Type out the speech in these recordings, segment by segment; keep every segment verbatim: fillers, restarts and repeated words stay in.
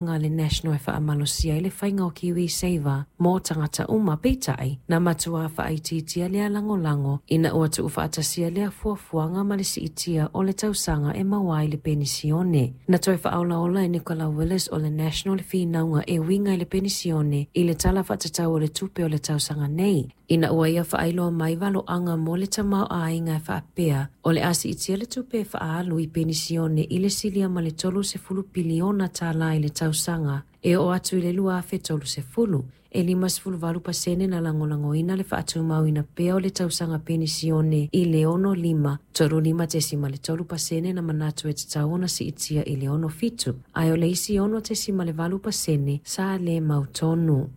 Le National e faamalosia ai le faiga o KiwiSaver mo tagata uma, peitai na matua faaitiitia lea lagolago ina ua tuufaatasia lea fuafuaga ma le siitia o le tausaga e maua ai le penisione. Na toe faaolaola e Nicola Willis o le National le finauga e uiga i le penisione i le Tala Faatatau o le Tupe o le tausaga nei, ina ua ia faailoa mai valoaga mo le tamaoaiga e faapea o le a siitia le tupe e faaalu i penisione i le silia ma le tolusefulu piliona tālā i le tausaga e oo atu i le lua afe tolusefulu. E limasefuluvalu pasene na lagolagoina le faatumauina pea o le tausaga penisione i le ono lima, tolu lima tesima le tolu pasene na manatu e tatau ona siitia i le ono fitu, ae o le isi ono tesima le valu pasene sa le mautonu.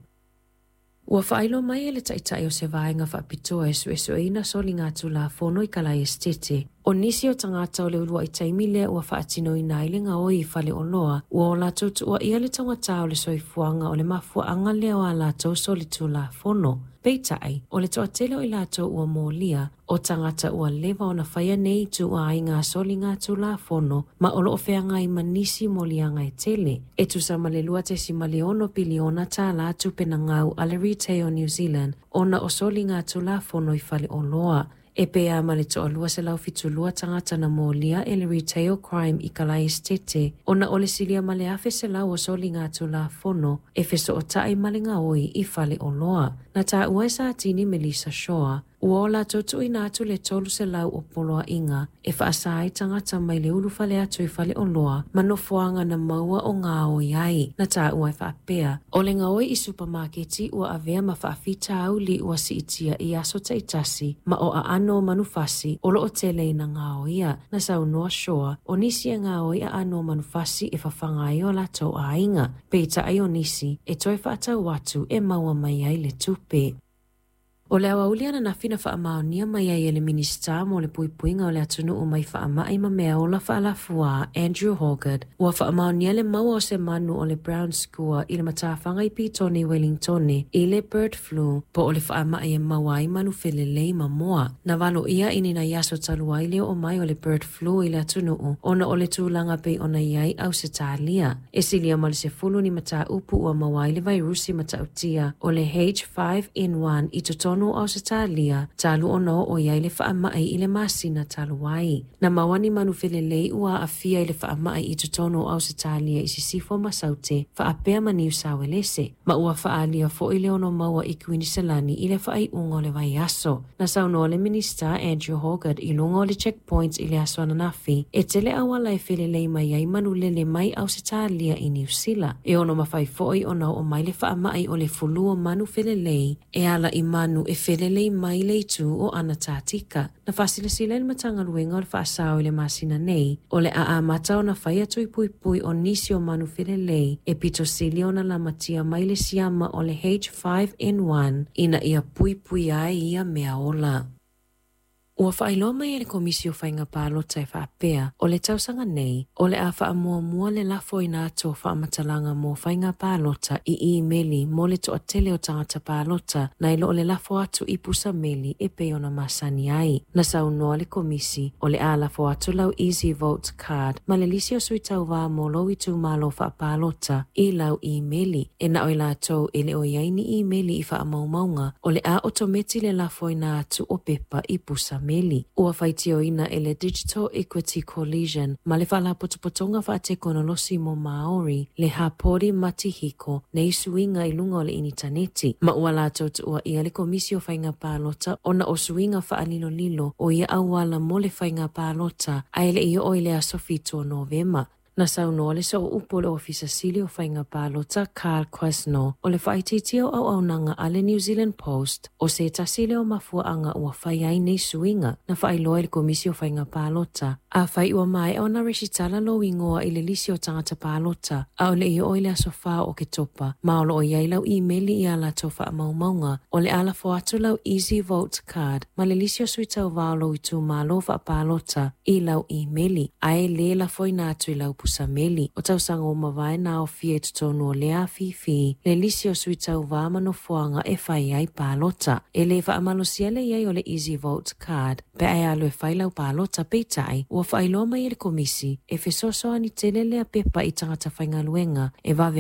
Ua faailoa mai e le taitai o se vaega faapitoa e suesueina soligatulafono i Kalaesetete, o nisi o tagata o le uluai taimi lea ua faatinoina ai le gaoi i faleoloa ua o latou tuuaia le taugata o le soifuaga o le mafuaaga lea o a latou solitulafono. Peitai, o le toatele o i latou ua molia, o tagata ua leva ona faia nei ituaiga soligatulafono ma o loo feagai ma nisi moliaga e tele. E tusa ma le lua tesima le ono piliona tālā tupe na gau a le Retail New Zealand ona o soligatulafono i faleoloa. E pea ma le toalua selau fitulua tagata na molia e le Retail Crime i Kalaesetete ona o le silia ma le afe selau o soligatulafono e fesootai ma le gaoi i faleoloa. Na taua e Satini Melissa Shaw, ua o latou tuuina atu le tolu selau o poloaiga e faasa ai tagata mai le ulufale atu i faleoloa ma nofoaga na maua o gaoi ai. Na taua e faapea, o le gaoi i supamaketi ua avea ma faafitauli ua siitia i aso taitasi ma o aano o manufasi o loo tele ina gaoia. Na saunoa Shaw, o nisi e gaoi aano o manufasi e fafaga ai o latou aiga, peitai o nisi e toe faatau atu e maua mai ai le tupe. O le aoauli ananafi na faamaonia mai ai e le Minisita mo le Puipuiga o le Atunuu mai Faamai ma Mea Ola Faalafua, Andrew Hoggard, ua faamaonia le maua o se manu o le brown skua i le matafaga i Petone i Wellingtone i le bird flu, po o le faamai e maua ai manu felelei ma moa. Na valoia i ni nai aso talu ai le oo mai o le bird flu i le atunuu ona o le tulaga pei ona i ai Ausetalia. E silia ma le sefulu ni mataupu ua maua ai le vairusi matautia o le H five N one i totonu o Ausetalia talu ona oo i ai le faamai i le masina talu ai. Na maua ni manu felelei ua aafia i le faamai i totonu o Ausetalia i Sisifo ma Saute, faapea ma Niu Sauelese, ma ua faaalia foi le ono maua i Kuiniselani i le faaiuga o le vaiaso. Na saunoa le Minista Andrew Hoggard i luga o le Checkpoint i le aso ananafi, e tele auala e felelei mai ai manulele mai Ausetalia i Niu Sila. E ono mafai foi ona oo mai le faamai o le fulu o manu felelei e ala i manu e felelei mai le itu o Anatatika. Na faasilasila e le Matagaluega o le Faasao i le masina nei, o le a amata ona fai atu i puipui o nisi o manu felelei e pito sili ona lamatia mai le siama o le H five N one ina ia puipui ai ia mea ola. Ua faailoa mai e le Komisi o Faiga Palota e faapea, o le tausaga nei, o le a faamuamua le lafoina atu o faamatalaga mo faiga palota i imeli mo le toatele o tagata palota nai lo le lafo atu i pusa meli e pei ona masani ai. Na saunoa le Komisi, o le a lafo atu lau Easy Vote Card ma le lisi o sui tauvā mo lou itumalo faapalota i lau imeli. E na o i latou e le o i ai ni imeli i faamaumauga, o le a otometi le lafoina atu o pepa i pusa meli. Ua faitioina e le Digital Equity Coalition ma le Faalapotopotoga Faatekonolosi mo Maori le Hapori Matihiko nei suiga i luga o le initaneti, ma ua latou tuuaia le Komisi o Faiga Palota ona o suiga faalilolilo o ia auala mo le faiga palota ae le i oo i le aso fitu o Novema. Na saunoa le sooupu o le Ofisa Sili o Faiga Palota Carl Quesnot, o le faaitiitia o auaunaga a le New Zealand Post o se tasi lea o mafuaaga ua fai ai nei suiga. Na faailoa e le Komisi o Faiga Palota, afai ua maea ona resitala lou igoa i le lisi o tagata palota a o le i oo i le aso fa o Oketopa ma o loo i ai lau imeli i a latou faamaumauga, o le a lafo atu lau Easy Vote Card ma le lisi o sui tauvā o lou itumalo faapalota i lau imeli, ae lē lafoina atu i lau pusa meli. O tausaga ua mavae na aofia i totonu o lea afifi le lisi o sui tauvā ma nofoaga e fai ai palota. E lē faamalosia le i ai o le Easy Vote Card pe a e alu e fai lau palota, peitai ua faailoa mai e le Komisi e fesoasoani tele lea pepa i tagata faigaluega e vave